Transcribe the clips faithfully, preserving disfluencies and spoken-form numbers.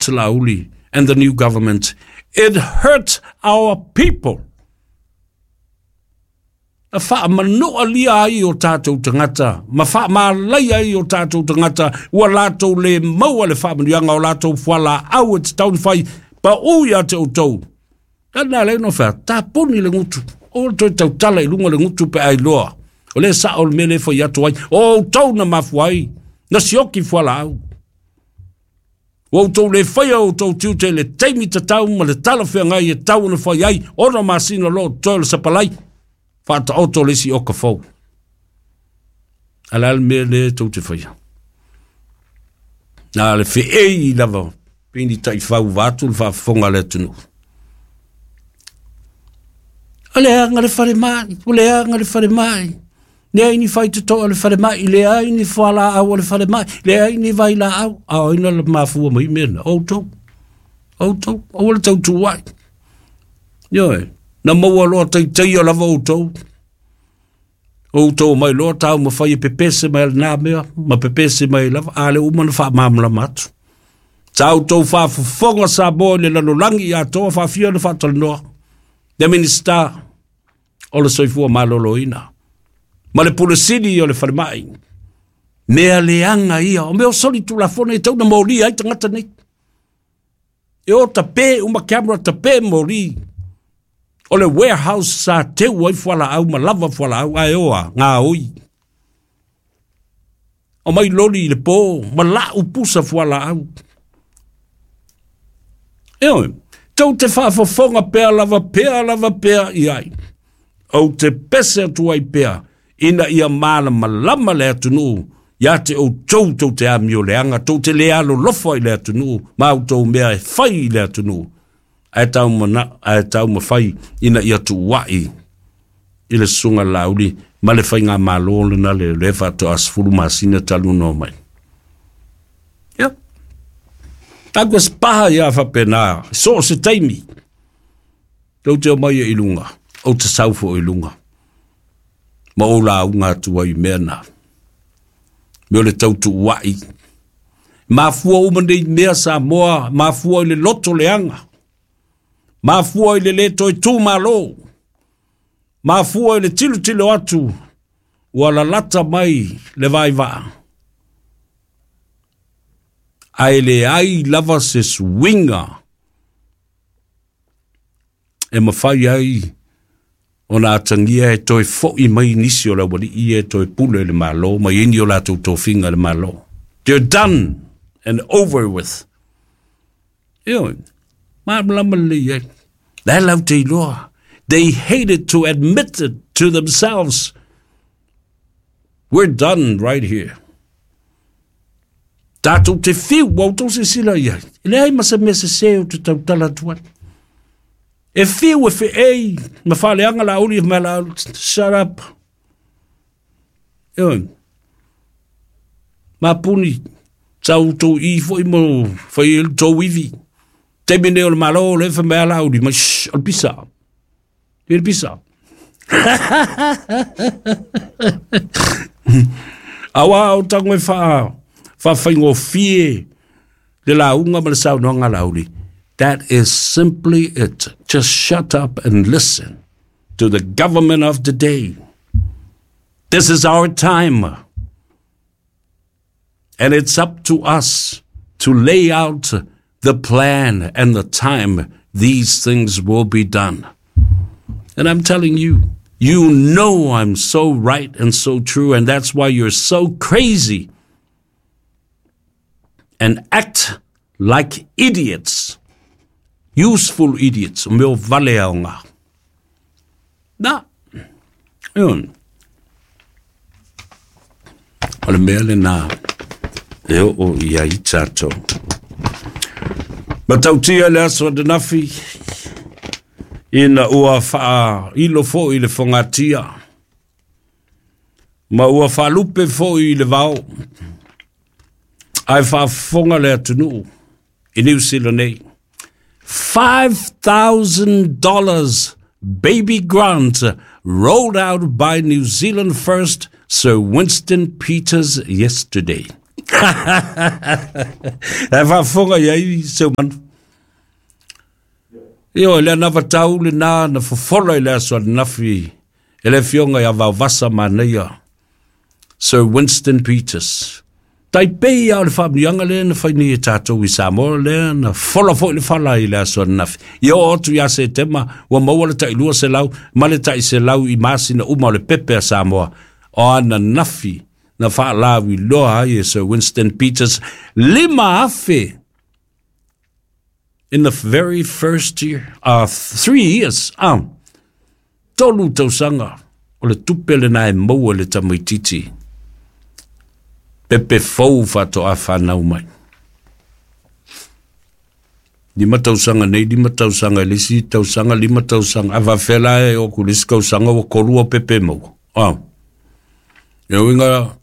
hurt Laauli and the new government. It hurt our people. Na faamanoalia ai o tatou tagata ma faamalaia ai o tatou tagata ua latou le maua le faamanuiaga o latou fualaau e tatau ona fai paū ia te outou. Kana le no fea tapuni le gutu o le toe tautala i luga le gutu pe ailoa o le sao le mea le fai atu ai o outou na mafua ai na sioki fualaau. Ua outou le faia o outou tiute le taimi tatau ma le talafeagai e tau ona fai ai ona masina lo toe le sapalai faataoto le isi oka fou. A le a le mea le tou te faia. Na le feei lava pei ni taifau vaeatu le faafofoga a le atunuu. O leaga le falemai, o leaga le falemai. Leai ni faitotoa o le falemai, leai ni fualaau o le falemai, leai ni vailaau. A o ai na mafua mai mea na? Outou. Outou. Aua le tautuai. Ioe. Na maua loa taitaia lava outou. Outou mai loa taumafai e pepese mai lena mea ma pepese mai lava. A le uma na faamalamalama atu. Sa outou faafofoga Samoa i le lalolagi atoa faafia na faatalanoa. Le Minisita o le Soifua Maloloina ma le Pule Sili o le Falemai. Mea leaga ia, o mea o soli tulafono e tau na molia ai tagata nei. E o tape uma camera tape moli. O le warehouse sa teu ai fualaau ma lava fualaau ae oa ngā oi. O mai loli i le pō, ma lau pusa fualaau. Ioe, tou te faafofoga pea lava pea lava pea i ai. Ou te pese atu ai pea, ina ia malamalama le atunuu, ia te outou tou te amioleaga, tou te le alolofa i le atunuu, ma outou mea e fai i le atunuu. Ae tau mana, ae taumafai ina ia tuuai i le susuga Laauli ma le faigamalo lena le le faatoa sefulu masina talu ona omai. Ia. Tagu spaha ia faapena, so o se taimi. Tou te omai i luga, ou te sau foi i luga. Ma ou lauga atu ai i mea na. Mea o le tautuuai. Mafua uma nei mea Samoa, mafua i le loto leaga. Mafua i le le toe tumalo. Mafua i le tilotilo atu ua lalata mai le vaivaa. Ae leai lava se suiga e mafai ai ona atagia e toe fo'i mai nisi o le aualii ia e toe pule i le Malo ma i ai ni o latou tofiga i le Malo. They're done and over with. Ioe, malamalama lelei ai. La e lau te iloa. They hated to admit it to themselves. We're done right here. Tatou te fiu, ua outou silasila i ai. E leai ma se mea sesē ou te tautala atu ai. E fiu e feei ma faaleaga Laauli ma Laauli. Shut up. Ioe. Mapuni, sa outou i foi mo fai ai le tou ivi. Taimi nei o le Malo o lea e fai mai a Laauli mai, shh, o le pisa. E le pisa. Auā o tago e faa, faafaigofie le lauga ma le saunoaga a Laauli. That is simply it. Just shut up and listen to the government of the day. This is our time. And it's up to us to lay out the plan and the time these things will be done. And I'm telling you, you know I'm so right and so true, and that's why you're so crazy and act like idiots. Useful idiots. O mea o vale aoga. Na. Ioe. O le mea lena e oo i ai tatou. Matautia le aso ananafi ina ua faailo foi le fogatia ma ua faalupe foi le vao ae faafofoga le atunuu i Niu Sila nei. five thousand dollars baby grant rolled out by New Zealand First Sir Winston Peters yesterday. E faafofoga i ai Seumanu. Ioe, le anavatau lenā na fofola i le aso ananafi e le afioga ia Vaovasa Manaia, Sir Winston Peters. Tai pei lava o le faamanuiaga lea na fai nei e tatou i Samoa lea na fola foi le fala i le aso ananafi. Ia oo atu ia Setema ua maua le tai lua selau ma le tai selau i masina uma o le pepe a Samoa. O ananafi na faalauiloa ai e Sir Winston Peters lima afe in the very first year, uh, three years, ah, tolu tausaga o le tupe lenā e maua e le tamaitiiti pepe fou faatoa fanau mai. Lima tausaga nei, lima tausaga i le isi tausaga, lima tausaga, a faapefea la e oo atu i le isi kausaga ua tolu au pepe e maua. Ah. Ia uiga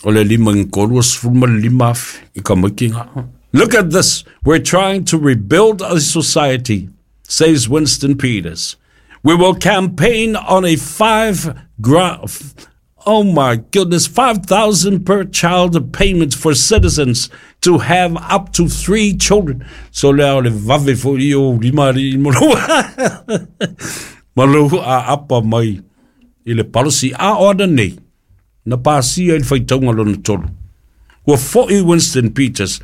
o le lima i tolu ua sefulu ma le lima afe i tamaiti ga. Look at this. We're trying to rebuild a society, says Winston Peters. We will campaign on a five gra- oh my goodness, five thousand per child payment for citizens to have up to three children. So lea o le vave foi ia o lima alii ma lou ma lou aapa mai i le policy a o ana nei na pasia i le faitauga lona tolu. Ua foi Winston Peters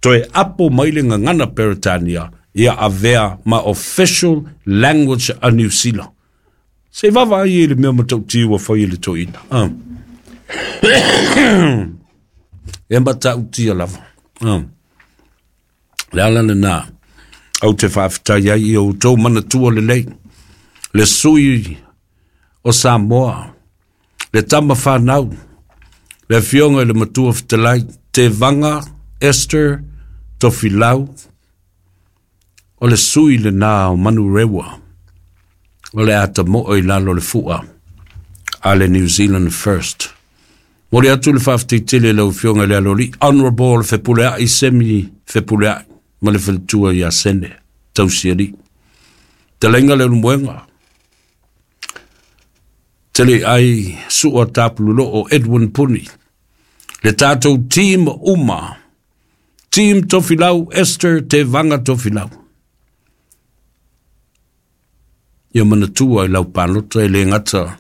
toe apo mai le gagana Peretania ia avea ma official language a Niu Sila. Se i vaavaai i le mea matautia ua fai e le toeaina. Ah. E matautia lava. Ah. Le ala lenā, ou te faafetai ai i o outou manatua lelei, le sui o Samoa, le tama whanau, le afioga i le Matua Fetalai, Tevaga Esther Tofilau, o le sui lenā o Manurewa, o le ata mo'o i lalo o le fua a le New Zealand First. Momoli atu le faafetai tele i lau Afioga i le Aloalii, Honourable Fepuleai Semi Fepuleai ma le faletua ia Sene Tausialii. Fetalaiga Leulumoega, Tele ai Sua Tapululoo Edwin Puni, le tatou team uma, Team Tofilau Esther Tevaga Tofilau. Ia manatua i lau palota e le gata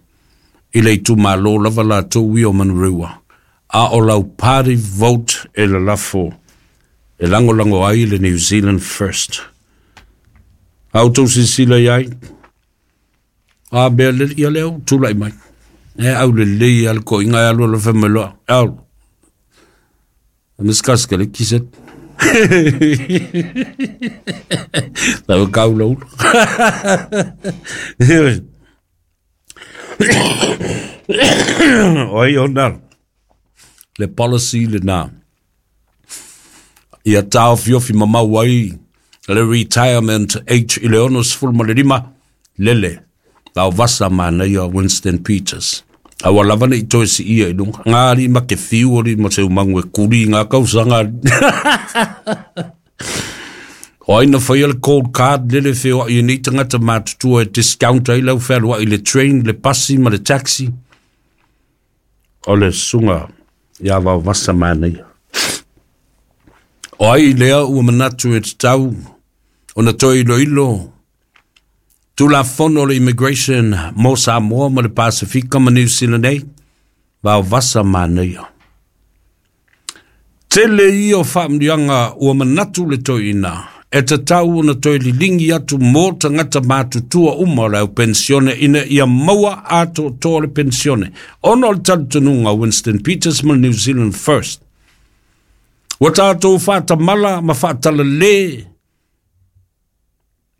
i le itumalo lava latou ia o Manurewa, a o lau party vote e lalafo e lagolago ai le New Zealand First. A outou silasila i ai, a mea le ia lea ua tulai mai. E aulelei lava le toaiga e alu alu fai mai loa, e alu. Miskaskele kiset. Lau kau lau. Oi ona le policy lenā. Ia taofiofi mamau ai le retirement age i le ono sefulu ma le lima, lele Vaovasa manaia Winston Peters. A ua lava nei toe siia i luga. Ngā alii ma ke fiu alii ma se umangu e kuli i ngā kausaga alii. O ai na whaia le cold card lele wheoai e nei tangata mātutua e discount ai lau whealuai le train, le pasi ma le taxi. O le susuga ia Vaovasa manaia. O ai lea ua manatu e tatau ona toe iloilo Tulafono o le Immigration mo Samoa ma le Pasefika ma Niu Sila nei, Vaovasa manaia. Tele ia o faamanuiaga ua manatu le toeaina e tatau ona toe liligi atu mo tagata matutua uma o le au penisione ina ia maua atoatoa le penisione ona o le talitonuga o Winston Peters ma le New Zealand First. Ua tatou faatamala ma faatalale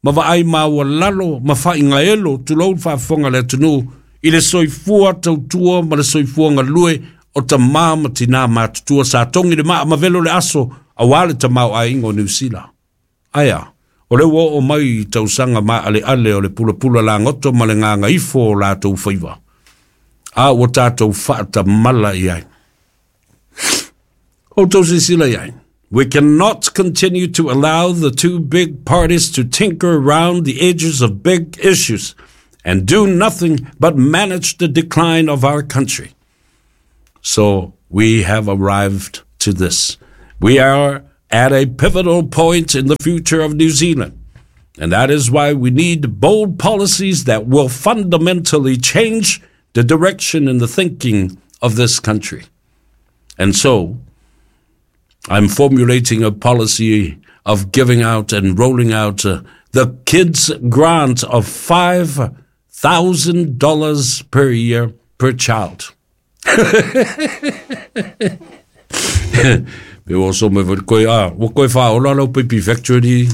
ma vaai maualalo ma faaigaelo, tulou le faafofoga a le atunuu, i le soifua tautua ma le soifua galue o tamā ma tinā matutua sa togi le maa ma velo le aso aua le tamaoaiga o Niu Sila. Ae a? O lea ua oo mai i tausaga maaleale o le pulapula lagoto ma le gagaifo o latou faiva, a ua tatou faatamala i ai. Outou silasila i ai. We cannot continue to allow the two big parties to tinker around the edges of big issues and do nothing but manage the decline of our country. So we have arrived to this. We are at a pivotal point in the future of New Zealand. And that is why we need bold policies that will fundamentally change the direction and the thinking of this country. And so, I'm formulating a policy of giving out and rolling out uh, the kids grant of five thousand dollars per year per child. Pe o so me voi koe a, o koe wha ola lau pipi factory.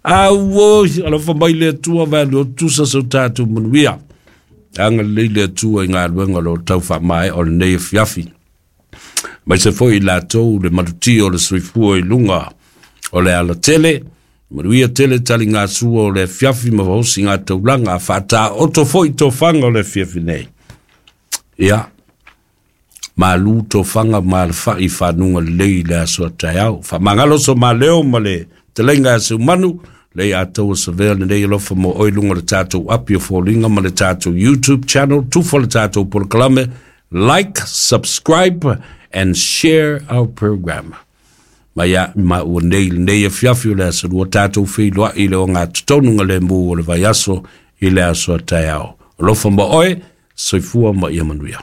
A wo, ala fa mai le atua vai lo tusa so tātou manuia. Anga lei le atua i ngā luenga lo tau wha mai o le nei fiafi. Mai se foi lātou le maluti o le soifua i lunga o le ala tele. Manuia tele tali ngā sua o le fiafi ma vaosi ngā taulanga whātā oto foi tō whanga o le fiafi nei. Ia, malu tō whanga ma le whai whanunga lei le aso tai au. Wha mangalo so ma leo ma le te lenga ase manu, lei a tau sa vea le nei alofa mo oi lunga le tātou api o fōlinga ma le tātou YouTube channel, tufo le tātou polokalame, like, subscribe and share our program. Ma ia ma ua nei nei e fiafi o le aso lua tātou whiloa i le o ngā tutonunga le mū o le vai aso i le aso a tai ao. Alofa mo oe, soifua ma ia manuia.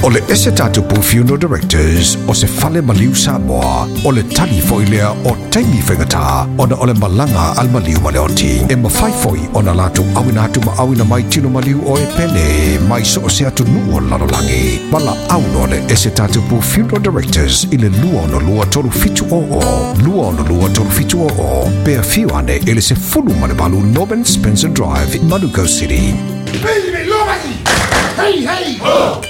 O le ese tātou Funeral Directors o se fale maliu Samoa o le tali foi lea o taimi whaingata ona o le malanga al maliu maleoti. E mawhai foi ona lātou awina atu ma awina mai tino maliu o e pele mai so o se atu nuu o lalolangi. Mala auno le ese tātou Funeral Directors i le lua ono lua tolu fitu o o, lua ono lua tolu fitu o o, pea fiu ane ele se fulu malewalu Norman Spencer Drive, Manukau City. Hey, hey! Ho!